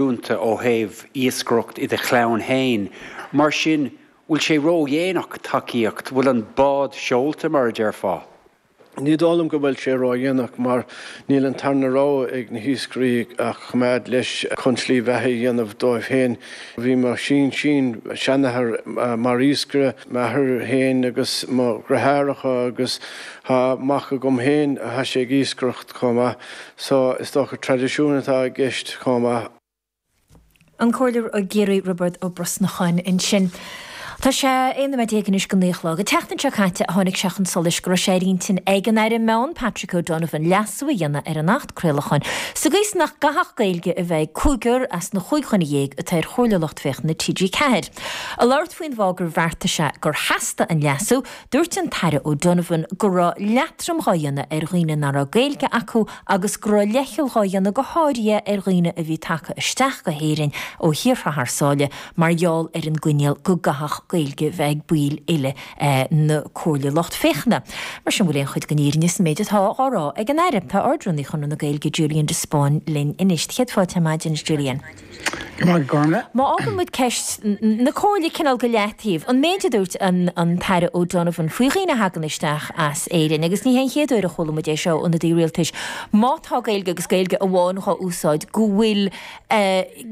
Ó thaobh iascaireacht i do chlann fhéin. Mar sin, bhfuil sé ró-dhéanach tacaíocht, bhfuil an bád seolta mar a déarfá? Ní dóigh liom go bhfuil sé ró-dhéanach mar níl an tarna rogha ag na hiascairí ach coimeád leis chun slí bheatha a dhéanamh dóibh féin. Bhí mo shin-sin-seanathair mar iascaire, m'athair féin agus mo dheartháireacha agus tá mac agam féin, tá sé ag iascaireacht chomh maith. So, is dócha traidisiún atá i gceist chomh maith. An Comhairleoir i gCiarraí Roibeard Ó Brosnacháin ansin. Tá sé 11 nóiméad anois go 9 a chlog. An tseachtain seo caite a tháinig sé chun solais go raibh sé ar intinn ag an Aire Meán, Patrick O'Donovan, leasú a dhéanamh ar an Acht Craolacháin sa gcaoi is nach gcaithfeadh Gaeilge a bheith ag cúigear as na chúig dhuine dhéag atá ar Chomhairle Lucht Féachana TG4. Ag labhairt faoin bhfáth gur bheartaigh sé gur theastaigh an leasú, Dúirt an tAire O'Donovan go raibh leatrom dhá dhéanamh ar dhaoine nach raibh Gaeilge acu agus go raibh leithcheal dhá dhéanamh go háirithe ar dhaoine a bhí tagtha isteach go hÉirinn ó thíortha thar sáile mar gheall ar an gcoinníoll go gcaithfeadh Gaeilge bheith ag baill uile na Comhairle Lucht Féachana. Mar sin bhfuil aon chuid den fhírinne sa méid atá dhá rá ag an Aire? Tá Ard-Rúnaí Chonradh na Gaeilge Julian de Spáinn linn anois. Céad fáilte ar maidin, a Julian. Go raibh maith agat, Gormlaith. Má fhágann muid ceist na Comhairle cineál go leataobh, an méid a dúirt an tAire O'Donovan faoi dhaoine a thagann isteach as Éirinn, agus ní hé an chéad uair a chuala muid é seo ó ionadaí rialtais, má tá Gaeilge agus Gaeilge amháin dhá úsáid, go bhfuil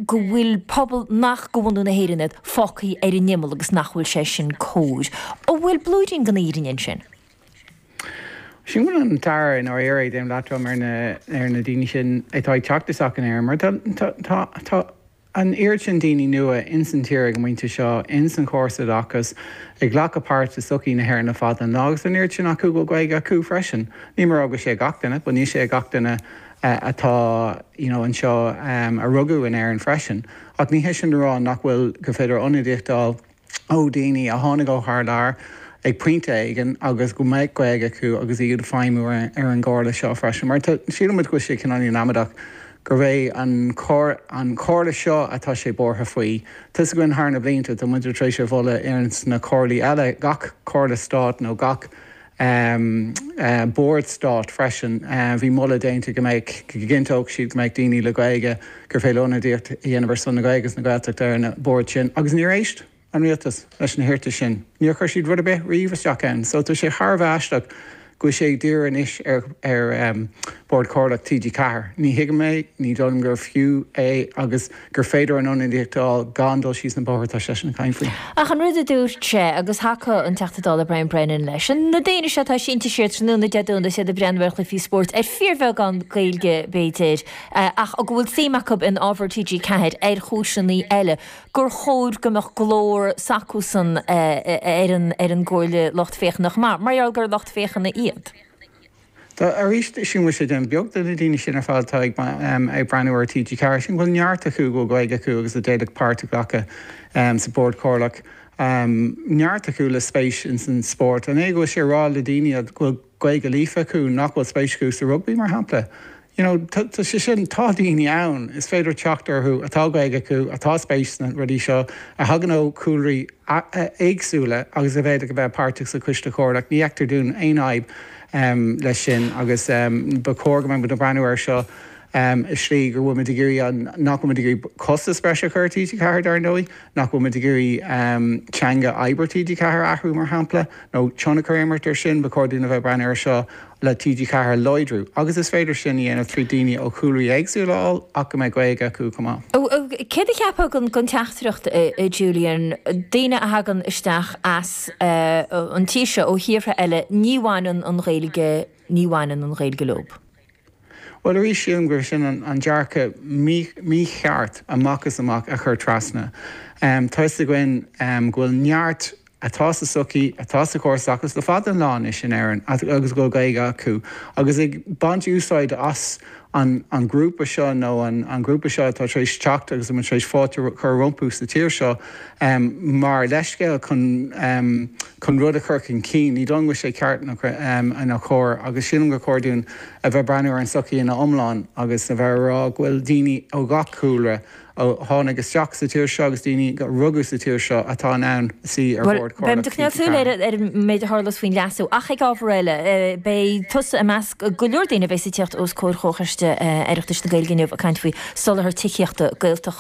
go bhfuil pobal nach de bhunadh na hÉireann iad fágtha ar an imeall agus nach bhfuil sé sin cóir. An bhfuil blúirín den fhírinne ansin? Sílim go bhfuil an tAire i ndáiríre ag déanamh leatrom ar na ar na daoine sin atá ag teacht isteach in Éirinn mar tá tá tá tá an oiread sin daoine nua ins an tír ag an bpointe seo, ins an chóras oideachais, ag glacadh páirt i sochaí na hÉireann le fada an lá agus an oiread sin acu go bhfuil Gaeilge acu freisin. Níl mé ag rá go bhfuil sé ag gach duine but níl sé ag gach duine atá you know anseo a rugadh in Éirinn freisin. Ach ní hé sin le rá nach bhfuil gur féidir ionadaíocht a fháil ó dhaoine a tháinig ó thar lear ag pointe éigin agus go mbeadh Gaeilge acu agus iad ag feidhmiú ar an gcomhairle seo freisin. Mar tá, síleann muid go bhfuil sé cineáilín amaideach gurb é an an chomhairle seo atá sé buartha faoi. Tá 'fhios againn thar na blianta, tá muid tar éis a mholadh ar sna comhairlí eile, gach comhairle stáit nó gach bord stáit freisin. Bhí moladh déanta go mbeadh, go gcinnteodh siad go mbeadh daoine le Gaeilge, gur féidir ionadaíocht a dhéanamh ar son na Gaeilge agus na Gaeltachta ar na boird sin agus níor éist an rialtas leis na hiarratais sin. Níor chuir siad rud ar bith riamh isteach ann. So tá sé thar a bheith aisteach go bhfuil sé ag díriú anois ar ar Bhord Comhairleach TG4. Ní thuigim é, ní dóigh liom gur fiú é agus gur féidir an ionadaíocht a fháil gan dul síos na bóithre atá seisean ag caint faoi. Ach an rud a dúirt sé, agus thacaigh an Teachta Dála Brian Brennan leis, na daoine seo atá sínte siar tráthnóna Dé Domhnaigh is iad ag breathnú ar chluichí spóirt, ar fíorbheagán Gaeilge b'fhéidir, ach go bhfuil suim acu in ábhar TG4 ar chúiseanna eile, gur chóir go mbeadh glór s'acusan ar an ar an gComhairle Lucht Féachana chomh maith, mar gheall gur lucht féachana iad. Tá, arís, sílim go bhfuil sé ag déanamh beag de na daoine sin ar fad atá ag ag breathnú ar TG4. Sílim go bhfuil neart acu go bhfuil Gaeilge acu agus a d'fhéadfadh páirt a ghlacadh sa Bhord Comhairleach. Neart acu le spéis ins an spórt. An é go bhfuil sé ag rá le daoine go bhfuil Gaeilge líofa acu nach bhfuil spéis acu sa rugbaí, mar shampla? You know, tá sé sin, tá daoine ann, is féidir teacht orthu atá Gaeilge acu, atá spéis sna rudaí seo, a thagann ó chúlraí éagsúla agus a bhféadfadh a bheith páirteach sa Choiste Comhairleach. Ní fheictear dúinn aon fhadhb leis sin agus ba chóir go mbeadh muid ag breathnú air seo i slí go bhfuil muid ag iarraidh an, nach bhfuil muid ag iarraidh costas breise a chur ar TG4 dar ndóigh, nach bhfuil muid ag iarraidh teanga oibre TG4 a athrú mar shampla, nó tionchar a imirt air sin, ba chóir dúinn a bheith ag breathnú air seo le TG4 a láidriú agus is féidir sin a dhéanamh trí daoine ó chúlraí éagsúla a fháil ach go mbeidh Gaeilge acu chomh maith. Céard a cheapfá den teachtaireacht, a Julian, daoine a thagann isteach as an tír seo ó thíortha eile, ní bhaineann an Ghaeilge, ní bhaineann an Ghaeilge leo? Bhuel, arís, sílim gur sin an dearcadh mícheart amach is amach a chur trasna. Tá 'fhios againn go bhfuil neart atá sa tsochaí, atá sa chóras oideachais le fada an lá anois in Éirinn agus go bhfuil Gaeilge acu agus ag baint úsáid as an an grúpa seo nó an an grúpa seo atá tar éis teacht agus atá tar éis fáilte a chur rompu sa tír seo mar leithscéal chun chun rud a chur chun cinn. Ní dóigh liom go bhfuil sé ceart nó cóir agus sílim gur chóir dúinn a bheith breathnú ar an tsochaí ina iomlán agus a bheith ag rá go bhfuil daoine ó gach cúlra a tháinig isteach sa tír seo agus daoine a rugadh sa tír seo atá in ann suí ar Bhord Comhairleach Beimid ag coinneáil súil ar ar an méid a tharlós faoin leasú. Ach ag ábhar eile, beidh tusa i measc go leor daoine a bheas ag tíocht os comhair Chomhchoiste. Choiste Oireachtais na Gaeilge inniu ag caint faoi soláthar tithíochta Gaeltachta.